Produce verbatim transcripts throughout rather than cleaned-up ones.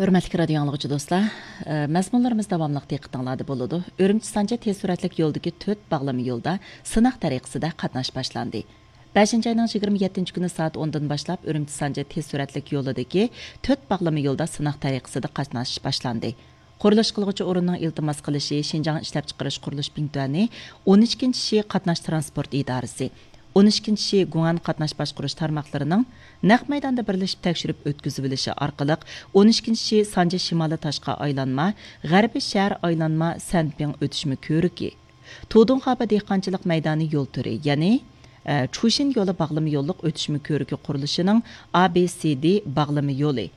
ھۆرمەتلىك رادىيو ئاڭلىغۇچى دوستلار، ئە، مەزمۇنلىرىمىز داۋاملىق دىققىتىڭلاردا بولىدۇ. ئۈرۈمچى سانجى تېز سۈرئەتلىك يولدىكى تۆت باغلىما يولدا سىناق تەرىقىسىدە قاتناش باشلاندى. بەشىنچى ئاينىڭ يىگىرمە يەتتىنچى كۈنى سائەت ئوندىن باشلاپ ئۈرۈمچى سانجى تېز سۈرئەتلىك يولىدىكى تۆت باغلىما يولدا سىناق تەرىقىسىدە قاتناش باشلاندى. قۇرۇلۇش قىلغۇچى ئورۇننىڭ ئىلتىماس قىلىشى شىنجاڭ ئىشلەپچىقىرىش قۇرۇلۇش بىڭتۈەنى، ئون ئىككىنچى شى قاتناش تىرانسپورت ئىدارىسى، ئون ئىككىنچى شى گۇڭئەن قاتناش باشقۇرۇش تارماقلىرىنىڭ نەق مەيداندا بىرلىشىپ تەكشۈرۈپ ئۆتكۈزۈۋېلىشى ئارقىلىق، ئون ئىككىنچى شى سانجى شىمالىي تاشقى ئايلانما، غەربىي شەھەر ئايلانما سەنپىڭ ئۆتۈشمە كۆۋرۈكى، تۇدۇڭخابا دېھقانچىلىق مەيدانى يول تۈرى، يەنى، ئە، چۇشىن يولى باغلىما يوللۇق ئۆتۈشمە كۆۋرۈكى قۇرۇلۇشىنىڭ ئا بى سى دى باغلىما يولى،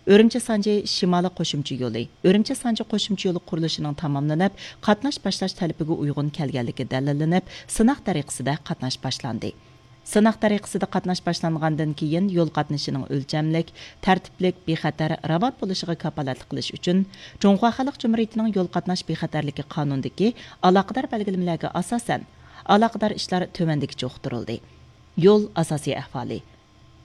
ئۈرۈمچى سانجى شىمالىي قوشۇمچە يولى، ئۈرۈمچى سانجى قوشۇمچە يولى قۇرۇلۇشىنىڭ تاماملىنىپ، قاتناش باشلاش تەلىپىگە ئۇيغۇن كەلگەنلىكى دەلىللىنىپ، سىناق تەرىقىسىدە قاتناش باشلاندى. سىناق تەرىقىسىدە قاتناش باشلانغاندىن كېيىن، يول قاتنىشىنىڭ ئۆلچەملىك، تەرتىپلىك، بىخەتەر، راۋان بولۇشىغا كاپالەتلىك قىلىش ئۈچۈن، جۇڭخۇا خەلق جۇمھۇرىيىتىنىڭ يول قاتناش بىخەتەرلىكى قانۇنىدىكى ئالاقىدار بەلگىلىمىلەرگە ئاساسەن، ئالاقىدار ئىشلار تۆۋەندىكىچە ئۇقتۇرۇلدى. يول ئاساسىي ئەھۋالى.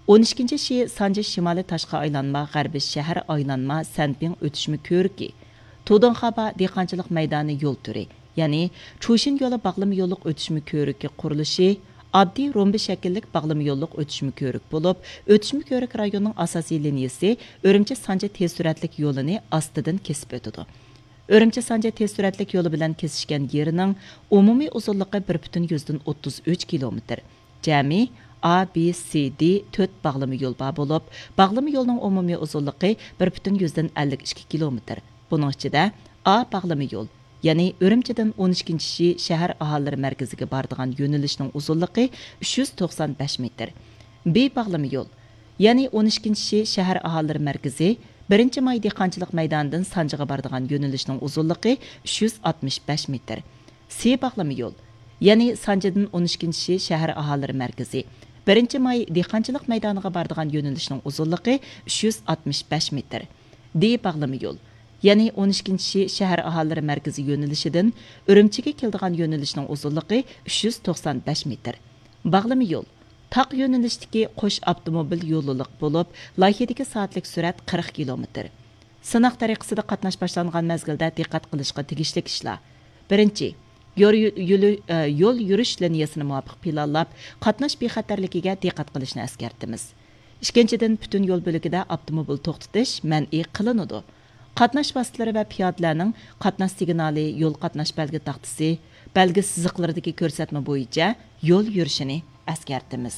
ئون ئىككىنچى شى سانجى شىمالىي تاشقى ئايلانما، غەربىي شەھەر ئايلانما، سەنپىڭ ئۆتۈشمە كۆۋرۈكى، تۇدۇڭخابا دېھقانچىلىق مەيدانى يول تۈرى، يەنى چۇشىن يولى باغلىما يوللۇق ئۆتۈشمە كۆۋرۈكى قۇرۇلۇشى ئاددىي رومبا شەكىللىك باغلىما يوللۇق ئۆتۈشمە كۆۋرۈك بولۇپ، ئۆتۈشمە كۆۋرۈك رايونىنىڭ ئاساسىي لىنىيىسى ئۈرۈمچى سانجى تېز سۈرئەتلىك يولىنى ئاستىدىن كېسىپ ئۆتىدۇ. ئۈرۈمچى سانجى تېز سۈرئەتلىك يولى بىلەن كېسىشكەن يېرىنىڭ ئومۇمىي ئۇزۇنلۇقى بىر پۈتۈن يۈزدىن ئوتتۇز ئۈچ كىلومېتىر. جەمئىي ئا بى سى دى تۆت باغلىما يول بار بولۇپ، باغلىما يولنىڭ ئومۇمىي ئۇزۇنلۇقى بىر پۈتۈن يۈزدىن ئەللىك ئىككى كىلومېتىر. بۇنىڭ ئىچىدە ئا باغلىما يول، يەنى ئۈرۈمچىدىن ئون ئىككىنچى شى شەھەر ئاھالىلىرى مەركىزىگە بارىدىغان يۆنىلىشنىڭ ئۇزۇنلۇقى ئۈچ يۈز توقسان بەش مېتىر. بى باغلىما يول، يەنى ئون ئىككىنچى شى شەھەر ئاھالىلىرى مەركىزى، بىرىنچى ماي دېھقانچىلىق مەيدانىدىن سانجىغا بارىدىغان يۆنىلىشنىڭ ئۇزۇنلۇقى ئۈچ يۈز ئاتمىش بەش مېتىر. سى باغلىما يول، يەنى سانجىدىن ئون ئىككىنچى شى شەھەر ئاھالىلىرى مەركىزى، بىرىنچى ماي دېھقانچىلىق مەيدانىغا بارىدىغان يۆنىلىشنىڭ ئۇزۇنلۇقى ئۈچ يۈز ئاتمىش بەش مېتىر. دى باغلىما يول، يەنى ئون ئىككىنچى شى شەھەر ئاھالىلىرى مەركىزى يۆنىلىشىدىن ئۈرۈمچىگە كېلىدىغان يۆنىلىشنىڭ ئۇزۇنلۇقى ئۈچ يۈز توقسان بەش مېتىر. باغلىما يول، تاق يۆنىلىشتىكى قوش ئاپتوموبىل يوللۇق بولۇپ، لايىھىدىكى سائەتلىك سۈرئەت قىرىق كىلومېتىر. سىناق تەرىقىسىدە قاتناش باشلانغان مەزگىلدە دىققەت قىلىشقا تېگىشلىك ئىشلار. بىرىنچى، يور-، يۆلى-، ئە، يول يۈرۈش لىنىيەسىنى مۇۋاپىق پىلانلاپ، قاتناش بىخەتەرلىكىگە دىققەت قىلىشنى ئەسكەرتىمىز. ئىككىنچىدىن، پۈتۈن يول بۆلىكىدە ئاپتوموبىل توختىتىش مەنئى قىلىنىدۇ. قاتناش ۋاسىتىلىرى ۋە پىيادىلەرنىڭ قاتناش سىگنالى، يول قاتناش بەلگە تاختىسى، بەلگە سىزىقلىرىدىكى كۆرسەتمە بويىچە يول يۈرۈشىنى ئەسكەرتىمىز.